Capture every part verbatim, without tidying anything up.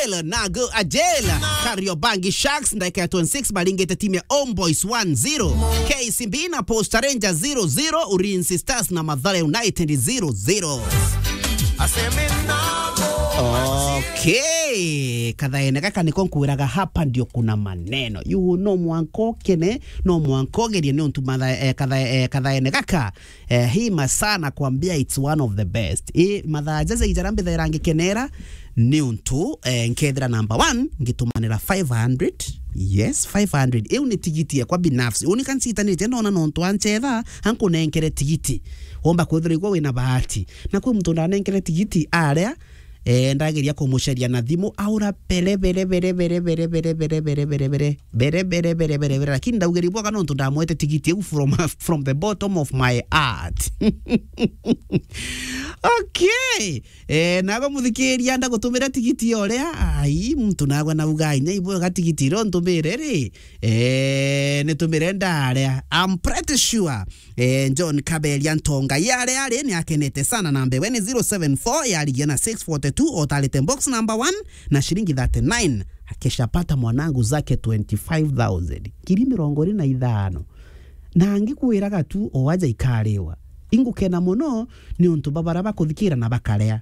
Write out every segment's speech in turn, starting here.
Nago Ajela, Kariobangi Sharks, ndagika ya twenty-six, baringite timu ya Homeboys one zero, K C B na Posta Rangers zero zero, Ulinzi Stars na Mathare United zero zero. Okay, kathaene gaka niko nkwiraga, hapa ndio kuna maneno. You no mwanka ukene, no mwanka ugerie ni untu matha-, eh, katha-, eh, kathaene gaka Eh, hii masaa nakwambia it's one of the best. I mathaa jaja ijara mbithaira ngikenera ni untu, eh, nkethira number one, ngitumanira five hundred. Yes, five hundred. Iu ni tigiti yakwa binafsi. Uni kansitanite ndona nontu anchetha, ankunenkere tigiti. Womba kwithira igwa wina bahati. Na kwi muntu ndanenkere tigiti aria, eh, ndageria kumucaria na thimu, aura bere, bere, bere, lakini ndaugeria bwega nontu ndamwete tigiti iu from, from the bottom of my heart. Okay. Eh, nago muthikiria ndagutumira tigiti oria. Ai, muntu nagwa nauga, "Inya ibwega tigiti iro ntumire ri." Eh, nitumire ndaria. I'm pretty sure Eh, John Kaberia Ntonga, yare yare ni akenete sana na mbewe ni zero seven four, yarigia na six forty-two, otarite box number one na shilingi thirty-nine. Akeshapata mwanangu zake twenty-five thousand. Ngiri mirongo iri na ithano. Na ngikwiraga tu o aja ikariwa. Ingukena muno ni untu babara bakuthikira na bakarea.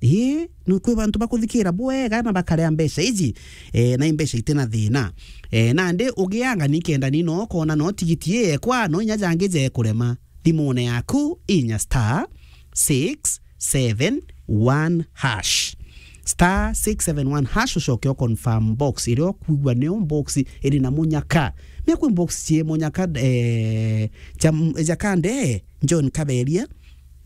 Ii, ni kwi bantu bakuthikira bwega na bakarea mbeca iji, eh, na i mbeca itina thina. Eh, nandi ugianga ni kenda ni no kona no tigiti ii ekwa, no inya jangi jekurema. Thimune yaku, inya star six seven one hash. Star six seven one hash, ucoke u confirm box iria ukwigua niyo box iri na munyaka. Mia kwi box cie munyaka, eh, ja, ja kande, John Kaberia,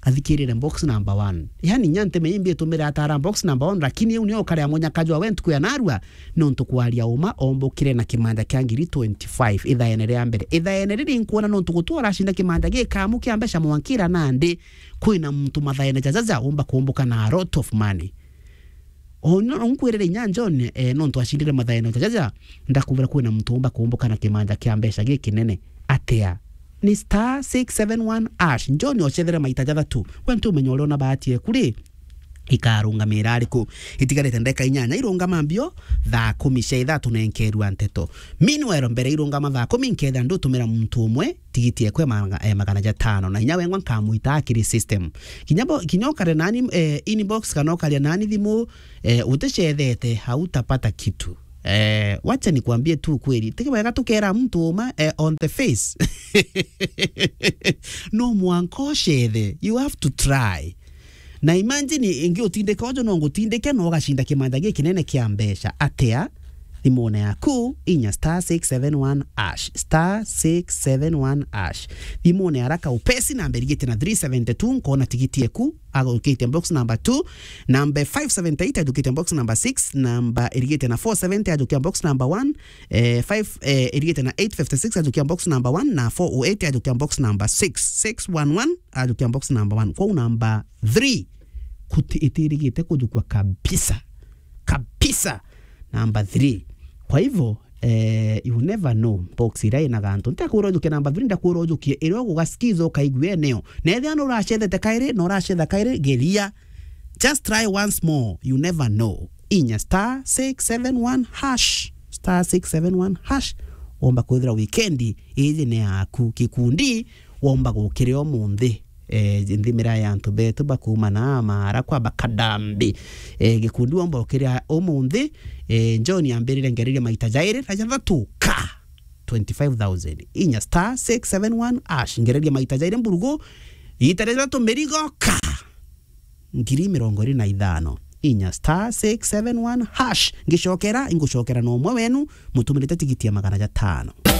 athikirire box number one. Yani, nya nteme imbi itumire atara box number one, lakini iu nio ukarea munyaka jwa we ntuku ya narua, nontu kwaria uma, ombukire na kimanja kia ngiri twenty-five, ithaene ria mbere. Ithaene riri nkuona nontu gutu uracinda kimanja gikamu kia mbeca mwankira nandi, kwina muntu mathaene jajaja umba kumbuka na a lot of money. O no nkwirire inya John, eh, nontu acindire mathaene jajaja, ndakubira kwina muntu umba kumbuka na kimanja kia mbeca gikinene. Atia? Ni star six seven one hash. John ocethere maita jathatu. We ntumenya uria una bahati eku ri, ikarungamira ariku? Itigarite ndeka inyanya irungama mbio, thaa kumi cia ithaa tunenkerua nteto. Meanwhile, mbere irungama thaa kumi, nkethira ndutumira muntu umwe tigiti ekwe maga-, eh, magana jatano, na inya wengwa nkamwita akiri system. Kinya bo-, kinya ukare nani, eh, inbox kana ukaria nani thimu, eh, uticethete, hautapata kitu. Eh, wacha nikwambie tu kweli, ti wega tukera mtu uma, eh, on the face. No mwanka ucethe, you have to try. Na imagine ingi utindika ujo no ngutindike, no ugacinda kimanja gikinene kia mbeca. Atia? Thimune yaku, inya star six seven one hash, star six seven one hash. Thimune haraka upesi, namba irigite na three seventy two, nkona tigiti eku, ajukitie box number two, namba five seventy eight, ajukitie box number six, namba irigite na four seventy, ajukia box number one, eh, five, eh, irigite na eight fifty six, ajukia box number one, na four oh eight, ajukia box number six, six one one, ajukia box number one. Kwou number three, kuti-, itirigite kujukua kabisa. Kabisa. Number three. Kwa hivyo, eh, you never know. Box iria ina gantu. Ntakwira ujukie number three, ndakwira ujukie iria ugugasikiza ukaigua eneo. Na ethia no uracethete kairi, no uracetha kairi, geria. Just try once more. You never know. Inya star six seven one hash. Star six seven one hash. Womba kwithira weekend iji ni yaku. Gikundi womba gukiria umunthi. Eh, nthimira ya antu betu bakuuma na Maara kwa Bakadambi. Eh, gikundi womba ukiria umunthi. Eh, John ambirire ngereria maita jairi na jathatu ka twenty-five thousand. Inya star six seven one hash. Ngereria maita jairi mburugu. Ita ria jathatu mirigo ka ngiri mirongo iri na ithano. Inya star six seven one hash. Ngicokera, ingucokera na umwe wenu, mutumirite tigiti ya magana jatano.